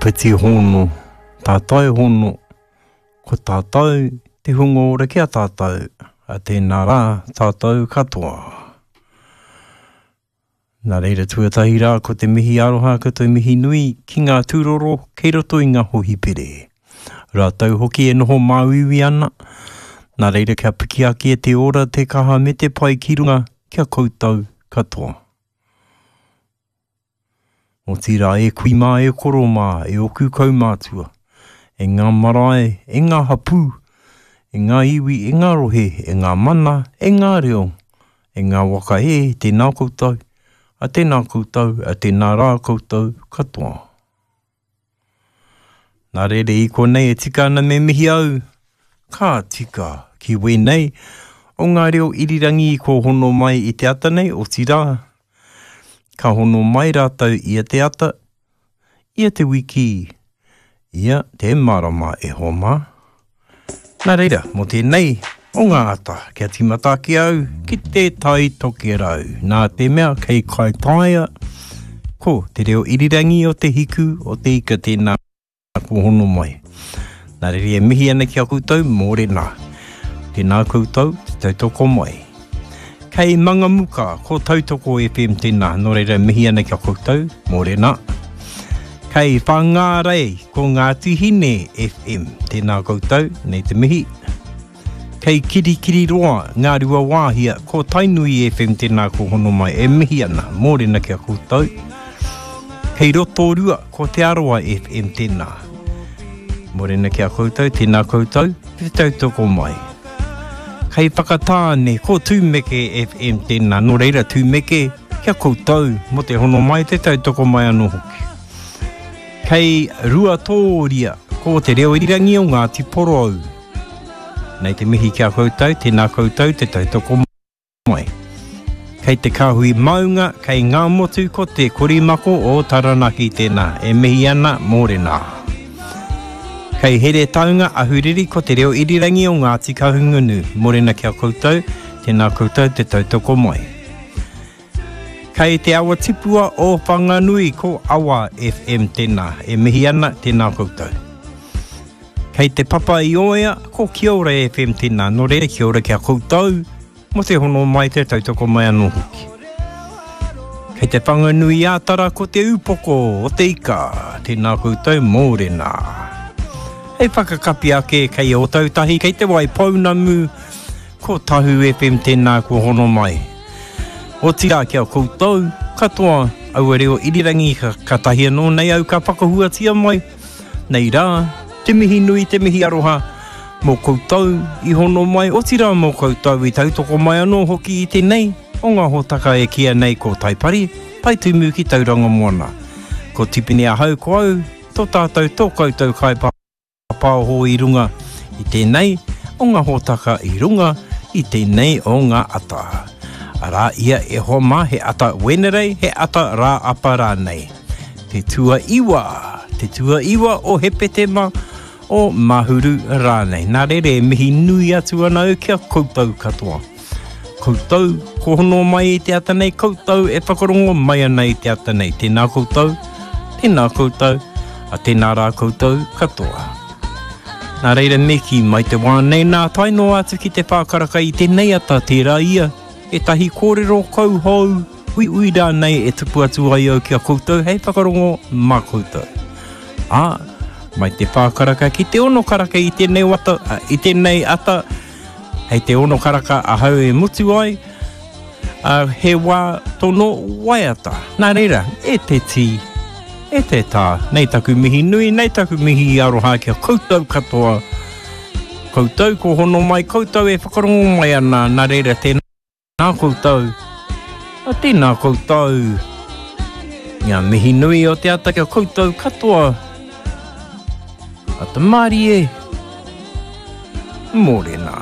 Whiti hono, tātai hono, ko tātou te hunga ora ki a tātou, a tēnā rā tātou katoa. Nā reira tuatahi rā ko te mihi aroha ko te mihi nui ki ngā tūroro kei roto i ngā hohipere. Rātou hoki e noho māuiui ana, nā reira kia piki ake te ora, te kaha me te pai ki runga ki a koutou katoa. Otirā e kui mā, e koro mā, e oku kaumātua, e ngā marae, e ngā hapū, e ngā iwi, e ngā rohe, e ngā mana, e ngā reo, e ngā waka e, tēnā koutou, a tēnā koutou, a tēnā rā koutou katoa. Nā reira i konei e tika ana me mihi au, ka tika ki wēnei o ngā reo irirangi i kōhono mai i te ata nei, otirā, ka hono mai rātou ia te ata, ia te wiki, ia te marama e hoa mā. Nā reira, mō tēnei o ngā ata, kia tīmata ake au ki te Tai Tokerau, nā te mea kei Kaitaia, ko te reo irirangi o te hiku o te ika tēnā kua hono mai. Nā reira e mihi ana ki a koutou, mōrena. Tēnā koutou, te tautoko mai. Kei Mangamuka, ko Tautoko FM tēnā, nō reira mihi ana ki a koutou, mōrena. Kei Whangārei, ko Ngāti Hine FM, tēnā koutou, nei te mihi. Kei Kirikiriroa, Ngāruawāhia, ko Tainui FM tēnā ko hono mai, e mihi ana, mōrena ki a koutou. Kei Rotorua, ko Te Arawa FM tēnā. Mōrena ki a koutou, tēnā koutou, te tautoko mai. Kei Whakatāne, ko Tūmeke FM tēnā, nō reira Tūmeke, kia koutou, mō te hono mai, te tautoko mai anō hoki. Kei Ruatōria, ko Te Reo Irirangi o Ngāti Porou. Nei te mihi ki a koutou, tēnā koutou te tautoko mai. Kei te kāhui maunga, kei Ngāmotu ko Te Korimako o Taranaki tēnā, e mihi ana, mōrena. Kei Heretaunga, Ahuriri ko Te Reo Irirangi o Ngāti Kahungunu, mōrena ki a koutou, tēnā koutou te tautoko mai. Kei Te Awa Tipua o Whanganui ko Awa FM tēnā, e mihi ana, tēnā koutou. Kei Te Papa i Oea ko Kia Ora FM tēnā, nō reira kia ora ki a koutou, mō te hono mai, te tautoko mai anō hoki. Kei Te Whanganui-ā-Tara ko Te Upoko o te Ika, tēnā koutou mōrena. Hei whakakapi ake kei Ōtautahi, kei Te Waipounamu, ko Tahu FM tēnā kua hono mai. Otirā ki a koutou katoa aua reo irirangi katahi anō nei au ka whakahuatia mai, nei rā, te mihi nui, te mihi aroha mō koutou i hono mai, otirā mō koutou i tautoko mai anō hoki i tēnei o ngā hōtaka e kīia nei ko Taipari, Taitumu ki Tauranga Moana. Ko Tipene ahau, ko au, tō tātou, tō koutou kaipaoho i runga i tēnei o ngā hōtaka i runga i tēnei o ngā ata. Arā ia e hoa mā, he ata Wenerei, he ata Rāapa rānei. Te tuaiwa, te tuaiwa o Hepetema, o Mahuru rānei. Nā reira e mihi nui atu ana au ki a koutou katoa. Koutou, ko hono mai i te ata nei, koutou e whakarongo mai ana i te ata nei. Tēnā koutou, tēnā koutou, a tēnā rā koutou katoa. Nā reira me kī mai te wā nei nā tae noa atu ki te whākaraka i tēnei ata tērā ia, ētahi kōrero kauhou, uiui rānei e tuku atu ai au ki a koutou hei whakarongo mā koutou. Ā, mai te whā karaka ki te ono karaka i tēnei wata, i tēnei ata, hei te ono karaka ahau e mutu ai, ā, he wā tono waiata. Nā reira, e te tī, e te tā, nei taku mihi nui, nei taku mihi aroha ki a koutou katoa, koutou ko hono mai, koutou e whakarongo mai ana, nā reira tēnā. Tēnā koutou, a tēnā koutou. Ngā mihi nui o te ata kia koutou katoa. Ata mārie, mōrena.